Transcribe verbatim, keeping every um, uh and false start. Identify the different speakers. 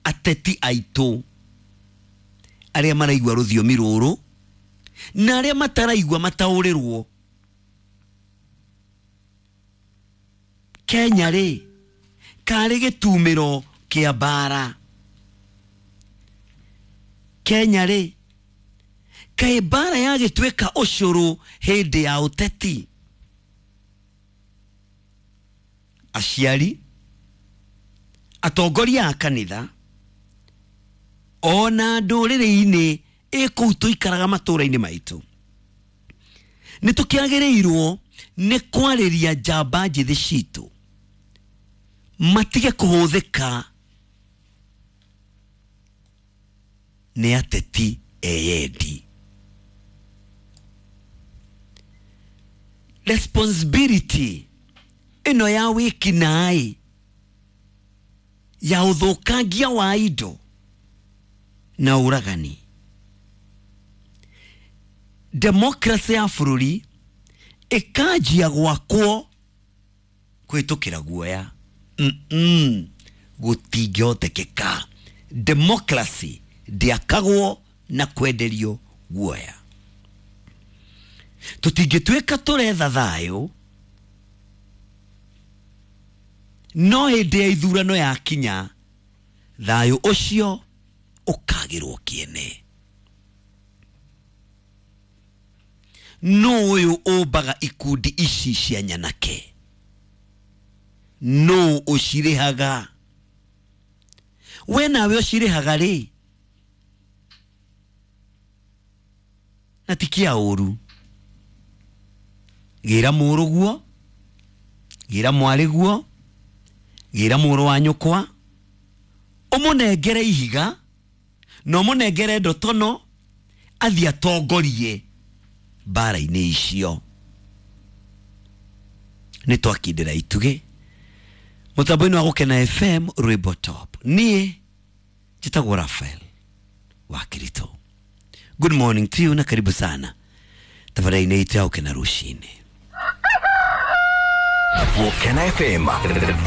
Speaker 1: Ateti aitũ arĩa maraigua rũthiomi rũrũ na arĩa mataraigua mataũrĩrwo. Kenya rĩ karĩ gĩtumĩro kĩa mbara. Kenya rĩ kaĩ mbara yagĩtuĩka ũcũrũ hĩndĩ ya ũteti. Aciari, atongoria a kanitha ona ndũrĩrĩ-inĩ ĩ kũu tũikaraga matũũra-inĩ maitũ, nĩ tũkĩagĩrĩirwo nĩ kwarĩria njamba njĩthĩ citũ matige kũhũthĩka nĩ ateti eyendi. Responsibility ĩno ya wĩkinaĩ ya ũthũkangia wa indo na ũragani, democracy ya bũrũri ĩkanjia gwakwo kũhĩtũkĩra guoya. Mm-mm, gũtingĩhotekeka. Democracy ndĩakagwo na kwenderio guoya. Tũtingĩtuĩka tũretha thayũ no hĩndĩ ya ithurano yakinya thayũ ũcio ũkagĩrwo kĩene. Nũ ũyũ ũmbaga ikundi ici cia nyanake? Nũ ũcirĩhaga? We nawe ũcirĩhaga rĩ? Na ti kĩa ũru. Gĩra mũrũguo, gĩra mwarĩguo, gĩra mũrũ wa nyũkwa, ũmũnengere ihiga na ũmũnengere ndotono athiĩ atongorie mbara-inĩ icio. Nĩ twakindĩra itugĩ mũtambo-inĩ wa Gũkena F M rwĩmbo top. Niĩ njĩtagwo Raphael wa Kirito. Good morning to you na karibu sana tabarĩa-inĩ itũ ya Gũkena rũcinĩ.
Speaker 2: Gũkena F M.